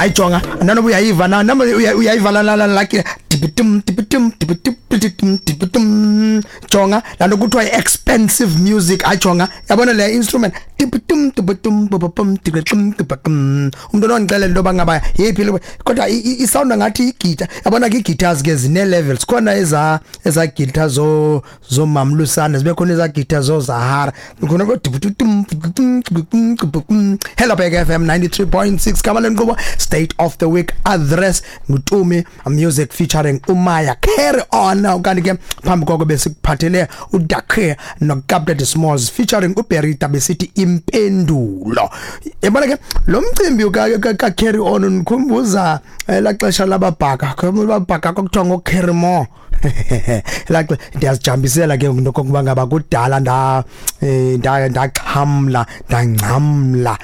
Ayijonga nanoba uyayiva na noma uyayiva la la la tipitum tipitum tipitum tipitum. Jonga lanto kuthiwa expensive music. Ayijonga, yabona le instrument, tipitum tipitum pum tipitum tipitum. Umuntu onondixelela into yoba ngaba yeyiphi le, kodwa isound ngathi igita. Yabona ke ii-guitars ke zine-levels, khona eza guitar zo zomamlusana, zibe khona eza guitar zozahara, khona ko tipitum tipitum tipitum. Hello Big FM 93.6, gama lenkqubo State of the Week Address, nguTumi Music featuring uMaya, Carry On. Kanti ke phambi koko besikuphathele uDakhe noCaptain Smalls featuring uBerita, besithi Impendulo. Yabona ke lo mcimbi ka Carry On unikhumbuza la xesha lababhaka, babhaka kwakuthiwa ngo-Carry More. La ndiyazijambisela ke ngokuba ngaba kudala ndaxhamla ndangcamla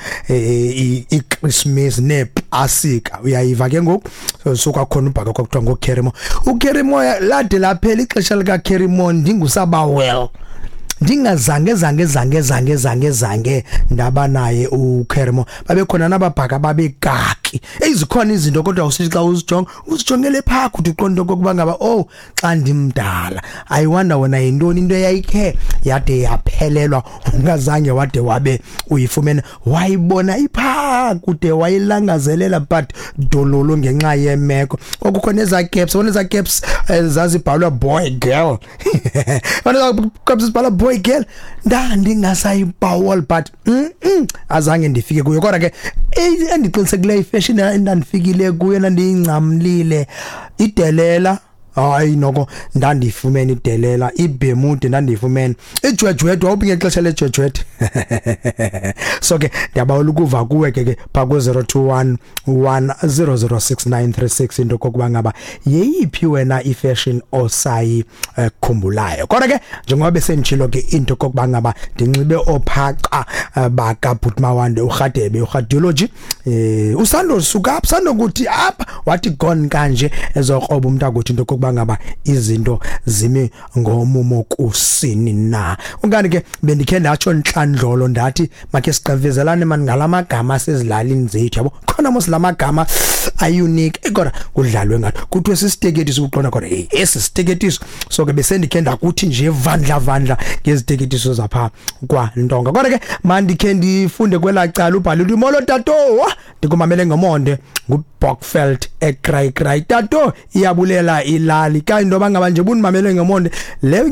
iChristmas nePasika, uyayiva ke ngoku. So kwakhona ubhaka kwakuthiwa ngo-Carry More. uCarry More lade laphela ixesha lika-Carry More ndingusabawel, ndingazange zange zange zange zange zange ndaba naye uCarry More. Babekhona nababhaka babekaki ezikhona izinto, kodwa usithi xa uzijonga uzijongele phaa kuthi uqonda okokuba ngaba oh xa ndimdala, I wonder wena yintoni into eyayikhe yade yaphelelwa ungazange wade wabe uyifumene, wayibona iphaa kude wayilangazelela, but dololo ngenxa yemeko. Kwakukho nezaa caps, yabona ezaa caps zazibhalwa boy girl, yabona ezaa caps zibhalwa boy girl, ndandingasayibawol, but azange ndifike kuyo. Kodwa ke endiqinisekileyo ifashion endandifikile kuyo endandiyingcamlile, idelela, hayi noko ndandiyifumene idelela, ibemude ndandiyifumene, ijwejwede, wawuphi ngexesha lejwejwede? So ke ndiyabawela ukuva kuwe ke phaa ku-021 1006936 into kokuba ngaba yeyiphi wena ifashion osayikhumbulayo. Kodwa ke njengoba besenditshilo ke into kokuba ngaba ndinxibe ophaca baka Mawande uRhadebe uRhadiology, usando suka apha, sandokuthi apha wathi gone kanje ezokroba umuntu akuthi into kokuba ngaba izinto zimi ngomumo kusini na. Ukanti ke bendikhe ndatsho ntlandlolo ndathi makhe sigqivezelane mani ngalamagama asezilalini zethu, yabo khona mos lamagama a-unique, kodwa kudlalwe ngathi kuthiwe sisiteketiso, uqonda kodwa hey esi siteketiso. So ke besendikhe ndakuthi nje vandla vandla ngeziteketiso zapha kwaNtonga. Kodwa ke mandikhe ndifunde kwelaa cala ubhale uthi molo tato, ndikumamele ngomonde, nguBokfeld eCry Cry. Tato, iyabulela ilali ka into ngaba nje bunimamele ngomonde. Le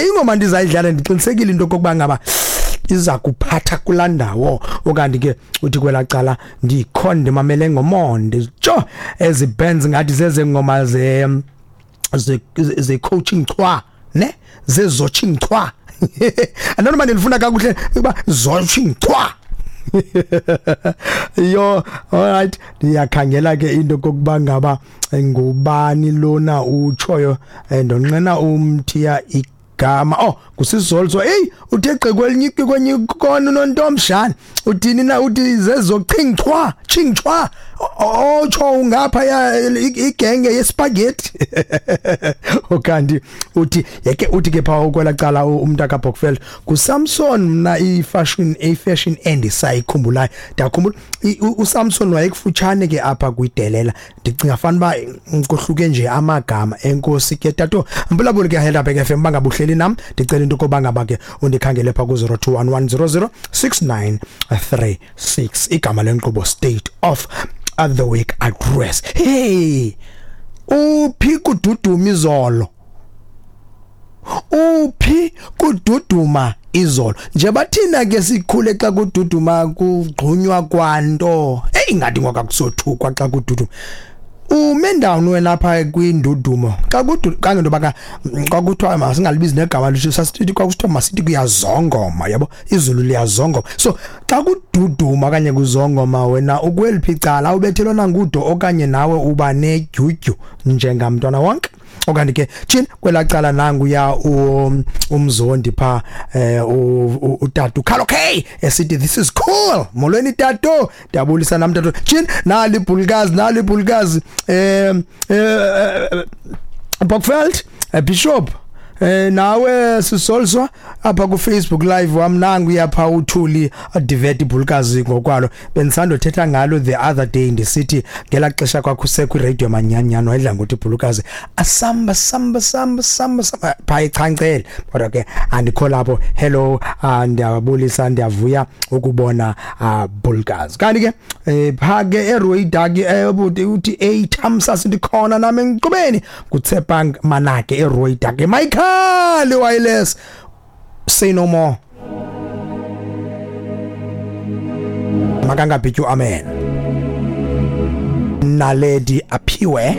ingoma ndizayidlala ndiqinisekile into kokuba ngaba iza kuphatha kulaa ndawo. Okanti ke uthi kwelaa cala ndikhona ndimamele ngomonde. Tsho ezi bands ngathi zezengoma ze coaching chwa ne zezoching chwa, andona ndilifuna kakuhle ukuba zoching chwa yo. Alright, ndiyakhangela ke into kokuba ngaba ngubani lona utshoyo, ndonqena umthiya igama. Oh, kusizolso. Hey, uthe gqi kwelinye kwenye kona unontomshana, uthini na? Uthi zezochingchwa chingchwa, otsho ungapha ya igenge yespaghetti. Okanti uthi yeke uthi ke pha ukwela cala umntu kaBokfeld kuSamson, mna ifashion endisayikhumbulayo, ndiyakhumbula uSamson wayekufutshane ke apha kwidelela, ndicinga fana uba kohluke nje amagama. Enkosi ke tato mbulabuli ke Helderberg FM, bangabuhleli nam, ndicela into koba ngaba ke undikhangele pha ku-021 100 6936. Igama lenkqubo State of the Week Address. Hey, uphi kududuma izolo? Uphi kududuma izolo? Nje bathina ke sikhule xa kududuma kugqunywa kwanto. Hey, ngathi ngoka kusothukwa xa kududuma. Ume ndawoni wena apha kwindudumo xa kudu kangento baka kwakuthiwa masingalibizi negama lisho, sasithi kwakusithiwa masithi kuyazongoma, yabo, izulu liyazongoma. So xa kududuma okanye kuzongoma, wena ukweliphi icala? Ubethelwa nangudo okanye nawe uba nedyudyu njengamntwana wonke? Okanye ke tshini kwelaa cala nanguya umzondi pha, utata ukhalo K esithi this is cool. Molweni tato, ndiyabulisa nam tato. Tshini nali ibhulukazi, nali ibhulukazi, Bokveld, Bishop. Nawe sisolswa apha ku Facebook live wam, nangu yapha uthuli adivet ibhulukazi ngokwalo. Bendisandothetha ngalo the other day, ndisithi ngelaa xesha kwakhusekho iradio manyanyana, wayedla ngokuthi ibhulukazi asamba samba samba samba samba phaa ichancele, kodwa ke andikho lapho. Hello, ndiyabulisa, ndiyavuya ukubona bhulukazi. Kanti ke phaa ke eRoydaki, ubuti uthi ey Thamsas, ndikhona nami enqubeni kuTsepang Manake eRoydaki. Michael Wireless, say no more, makangabhityu amen. Naledi aphiwe.